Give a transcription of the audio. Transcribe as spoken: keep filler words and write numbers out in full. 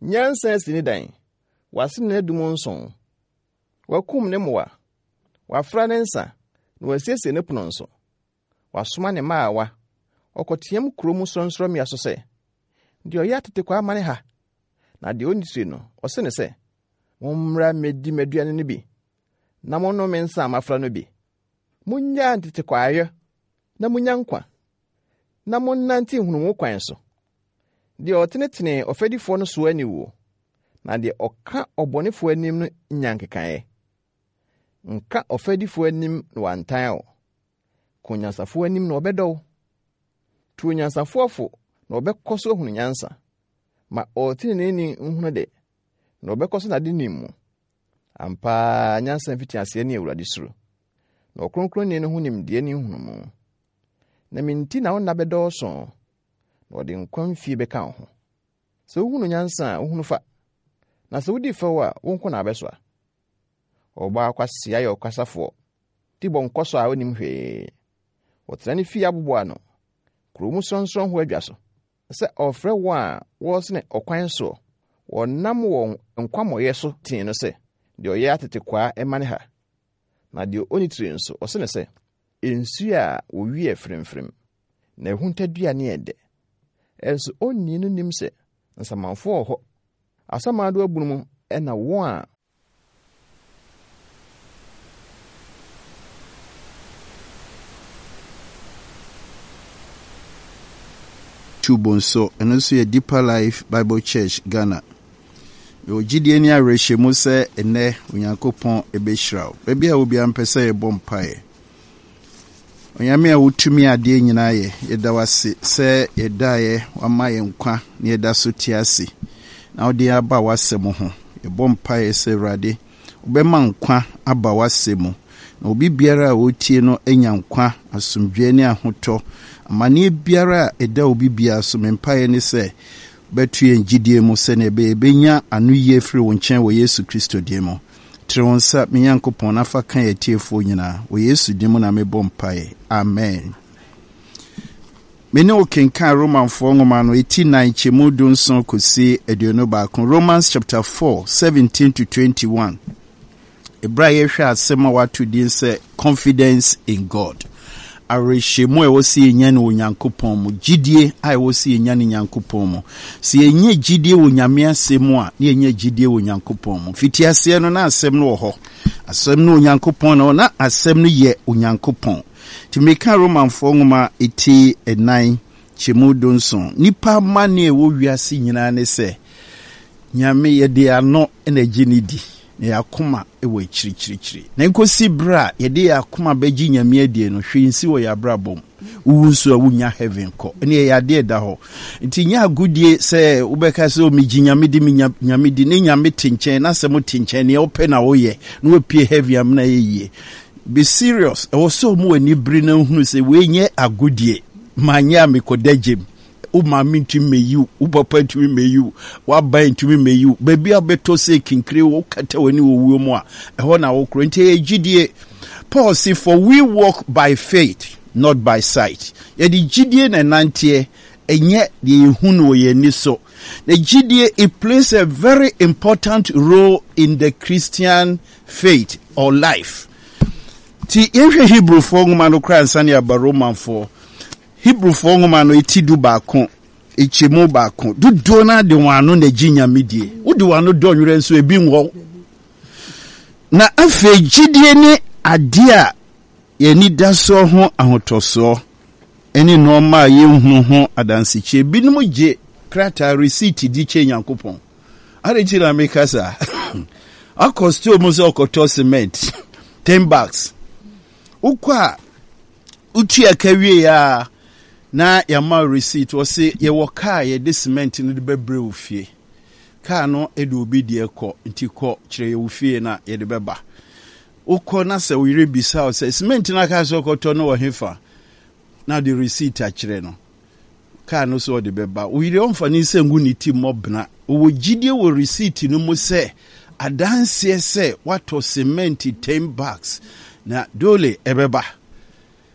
Nyansa asi ne dan, wasene n'adum nson. Wakum ne mmoa, wafra ne nsa, na wasiesie ne pono nso. Wasoma ne mmaawa, ɔkɔteɛm kurow mu sorɔnsorɔmmea so sɛ, deɛ ɔyɛ atetekwaa ma ne ha, na deɛ onni tiri no, ɔse ne sɛ, mommra mmedi m'aduane no bi, na monnom me nsa a mafra no bi. Munnyaa ntetekwaayɛ na munnya nkwa, na monnante nhunumu kwan so. Deɛ ɔtenetene ɔfɛdifoɔ no soa aniwuo, na deɛ ɔka ɔbɔnefoɔ anim no nya nkekaeɛ. Nka ɔfɛdifoɔ anim na wantan wo. Ka onyansafoɔ anim na ɔbɛdɔ wo. Tu onyansafoɔ fo na ɔbɛkɔ so ahunu nyansa. Ma ɔteneneeni nhunu de, na ɔbɛkɔ so n'ade nim mu. Ampa ara nyansa mfitiaseɛ ne Awurade suro, na ɔkronkronni no ho nimdeɛ ne nhunumu. Na me nti na wo nna bɛdɔɔso, na ɔde nkwa mfie bɛka wo ho. Sɛ wohunu nyansa a, wohunu fa, na sɛ wodi fɛw a, wo nko na abɛsoa. Ɔbaa kwasea yɛ ɔkasafoɔ, ti bɔ nkɔsɔ a onim hwee. Ɔtena ne fie aboboa ano, kurow mu sorɔnsorɔn ho adwa so, sɛ ɔfrɛ wɔn a wɔresene ɔkwan soɔ, wɔnam wɔn nkwammɔeɛ so tee no sɛ, deɛ ɔyɛ atetekwaa ɛma ne ha. Na deɛ onni tiri nso, ɔse ne sɛ, nsuo a wɔwie fremfrem, na ɛhuntaduane yɛ dɛ. Ɛnso onni no nim sɛ nsamanfoɔ wɔ hɔ. Asamando abunu mu ɛna wɔn a YouTube nso, ɛno nso yɛ Deeper Life Bible Church Ghana. Mewɔ gyidie ne awerɛhyɛmu sɛ ɛnnɛ Onyankopɔn ɛbɛhyira wo. Baabi a obiara mpɛ sɛ yɛbɔ mpaeɛ. Onyame a wotumi adeɛ nyinaa yɛ, yɛda wo ase sɛ yɛdaeɛ wama yɛn nkwa na yɛda so te ase. Na wode aba w'asɛm ho. Yɛbɔ mpaeɛ sɛ Awurade, wobɛma nkwa aba w'asɛm mu. Na obi biara a ɔretie no anya nkwa, asomdwoeɛ ne ahotɔ. Amanneɛ biara a ɛda obi biara so, me mpaeɛ ne sɛ bɛto yɛn gyidie mu sɛnea ɛbɛyɛ yɛbɛnya ano yie firi wo nkyɛn wɔ Yesu Kristo din mu. Tene wo nsa, me Nyankopɔn, na fa ka yɛn atiefoɔ nyinaa. Wɔ Yesu din mu na mebɔ mpaeɛ. Amen. Me ne wo kenkan Romanfoɔ nwoma no, eti nan kyɛmu du nson kɔsi aduonu baako. Romans chapter four, seventeen to twenty-one. Ebere a yɛhwɛ asɛm a wato din sɛ confidence in God. Awerɛhyɛmu a ɛwɔ sɛ yɛnya no wɔ Nyankopɔn mu, gyidie a ɛwɔ sɛ yɛnya no Nyankopɔn mu. Sɛ yɛnya gyidie wɔ Nyame asɛm mu a, na yɛnya gyidie wɔ Nyankopɔn mu. Fitiaseɛ no, na asɛm no wɔ hɔ. Asɛm no Onyankopɔn na na asɛm no yɛ Onyankopɔn. Nti meka Romanfoɔ nwoma eti ɛnan kyɛmu du nson. Nipa amanneɛ a ɛwɔ wiase nyinaa ne sɛ, Nyame yɛde ano na agye ne di, na yɛn akoma wɔ akyirikyirikyiri. Na nkosi berɛ a yɛde yɛn akoma bɛgye Nyame adie no, hwee nsi wɔ yɛn abrabɔ mu. Wowu nso a wonya heaven kɔ. Ɛne ɛyɛ adeɛ ɛda hɔ. Nti nyɛ agodie sɛ wobɛka sɛ megye Nyame di, menya Nyame di, ne Nyame te nkyɛn, na asɛm te nkyɛn, nea wopɛ na woyɛ, na wapue heaven amena yɛ yie. Be serious. Ɛwɔ sɛ ɔmo ani bere na nhunu sɛ wei nyɛ agodie. Manyɛ a mekɔda gyem. Wo maame ntumi mmɛyi wo, wo papa ntumi mmɛyi wo, w'aban ntumi mmɛyi wo. Baabi a wobɛtɔ sɛ kinkire wokata w'ani wɔ wuo mu a, ɛhɔ na wokorɔ. Nti ɛyɛ gyidie. Paul se, for we walk by faith, not by sight. Yɛde gyidie na ɛnanteɛ, ɛnyɛ deɛ yɛhu no wɔ yɛn ani so. Na gyidie, it plays a very important role in the Christian faith or life. Nti yɛnhwɛ Hebrewfoɔ nwoma no koraa ansa na yɛaba Romanfoɔ. Hebrewfoɔ nwoma no eti du baako, nkyɛmu baako. Dodoɔ no ara de wɔn ano na egye Nyame die. Wode wɔn ano dɔ nwerɛ nso ebi nwɔ. Na afei gyidie ne adeɛ a yɛn ani da soɔ ho ahotɔsoɔ ne nneɛma a yɛnhunu ho adansekyerɛ. Binom gye krataa receipt di kyɛ Nyankopɔn. Adɛn nti na meka saa? Akɔ store mu sɛ ɔkɔtɔ cement ten bags. Wokɔ a wotua ka wie a na yɛama receipt. Wɔse yɛwɔ kaa yɛde cement no de bɛbrɛ wo fie. Kaa no de obi deɛ kɔ nti kɔ kyerɛ yɛ wo fie na yɛde bɛba. Wokɔ na sɛ wo yere bisa wo sɛ cement no aka sɛ ɔkɔtɔ no wɔ hefa na de receipt akyerɛ no. Kaa no so ɔde bɛba. Wo yere ɔmfa ne nsa ngu ne ti mmɔ bena. Ɔwɔ gyidie wɔ receipt no mu sɛ adanseɛ sɛ woatɔ cement ten bags na dole ɛbɛba.